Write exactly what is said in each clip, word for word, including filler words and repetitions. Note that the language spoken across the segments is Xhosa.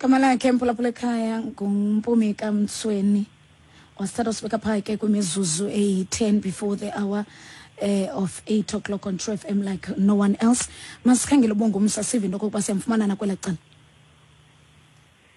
Gama lakhe, mphulaphula ekhaya, nguMpumi kaMtsweni. Wasithatha sibeka phaa ke kwimizuzu eyi-ten before the hour eh, of eight o'clock on True F M like no one else. Masikhangele uBongumsa, sive into okokuba siyamfumana nakwelaa cala.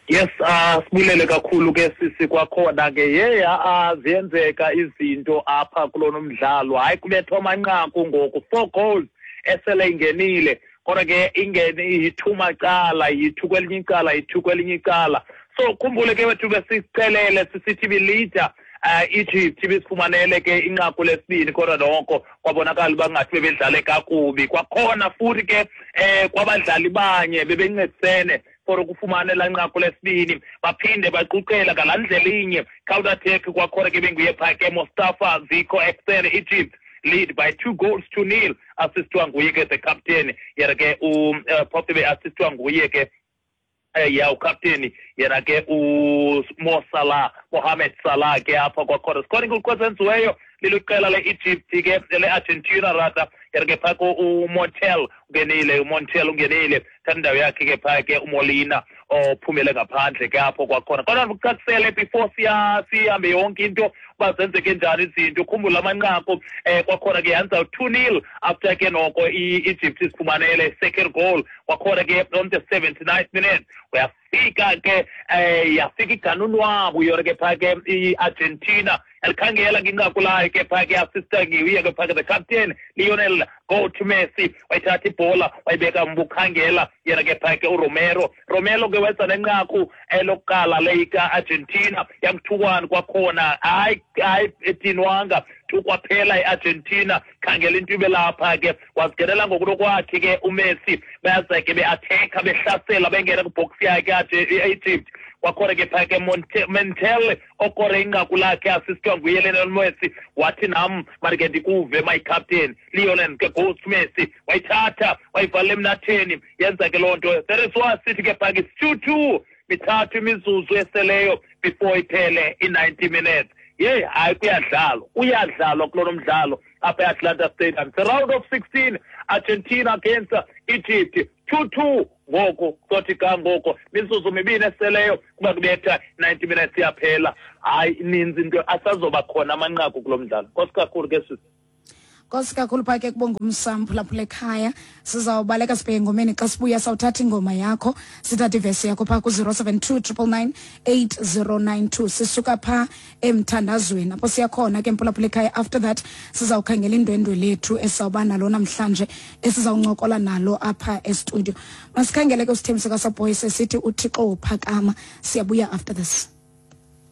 Yes, ah sibulele kakhulu ke sisi kwakhona ke. Hey, ah ziyenzeka izinto apha kulona umdlalo. Hayi, kubethwa amanqaku ngoku, four goals esele ingenile, kodwa ke ingene iyi-two macala, yi-two kwelinye icala, yi-two kwelinye icala. So khumbule ke wethu, besicelele sisithi bilida uh, Egypt ibisifumanele ke inqaku lesibini, kodwa noko kwabonakala uba ngathi bebedlale kakubi kwakhona futhi ke eh kwabadlali banye bebencedisene for ukufumana elaa nqaku lesibini. Baphinde baquqela ngalaa ndlela inye, counter attack kwakhona ke, benguye phaa ke Mustafa Zico Exen. Egypt lead by two goals to nil, assistwa nguye ke the captain yena ke uh, phofu be-assistwa nguye ke eh ya ukapteni yena ke uMo Salah, Mohamed Salah ke apha kwakhona. Scoring kwezenziweyo liliqela le-Egypt ke, le-Argentina rather. Yena ke phaa uMontiel ungenile, uMontiel ungenile, thatha indawo yakhe ke phaa ke uMolina ophumele ngaphandle ke apho kwakhona. Kodwa ndikucacisele before siya sihambe yonke into uba zenzeke njani izinto. Ukhumbula amanqaku um kwakhona ke yanza two nil after ke noko i-Egypt isifumanele second goal kwakhona ke on the seventy-ninth minute. Uyafika ke um yafika iganunwabu yona ke phaa ke i-Argentina, elikhangela ke inqaku layo ke phaa ke, assista nguye ke phaa ke the captain Lionel go to Messi. Wayithatha ibhola, wayibeka mbukhangela yena ke phaa ke uRomero. Romero ke wenza nenqaku elokuqala leyika-Argentina, yangu-two one kwakhona. Hayi, hayi, edinwanga tu kwaphela i-Argentina. Khangela into ibe lapha ke, wazingenela ngokunokwakhe ke uMessi. Bayaza ke be-attacka, behlasela, bengena kwi-box yakhe i-Egypt kwakhona ke phaa ke Montiel okore inqaku lakhe, assistwa nguye Lionel Messi. Wathi, "Nam mandike ndikuve, my captain." Lionel ke goes to Messi, wayithatha, wayivalela emnatheni, yenza ke loo nto. That is why sithi ke phaa ke two two, mithathu imizuzu eseleyo before iphele i-ninety minutes. Yeyi, hayi, kuyadlalwa, uyadlalwa kulona mdlalo apha e-Atlanta Stadium. It's a round of sixteen, Argentina against Egypt, two two ngoku. Sothi ka ngoko mizuzu mibini eseleyo kuba kubetha ninety minutes, iyaphela. Hayi, ininzi into, asazoba khona amanqaku kulo mdlalo. Nkosi kakhulu ke sisi. Nkosi kakhulu phaa ke kuBongumsa, mphulaphula ekhaya. Sizawubaleka sibheke engomeni. Xa sibuya sawuthatha ingoma yakho, sithathe ivesi yakho phaa ku-zero seven two triple nine eight zero nine two. Sisuka phaa emthandazweni apho siyakhona ke, mphulaphula ekhaya. After that sizawukhangela indwendwe lethu esizawuba nalo namhlanje, esizawuncokola nalo apha estudio. Masikhangele ke usithembiso kaSoboy sesithi uThixo uphakama. Siyabuya after this.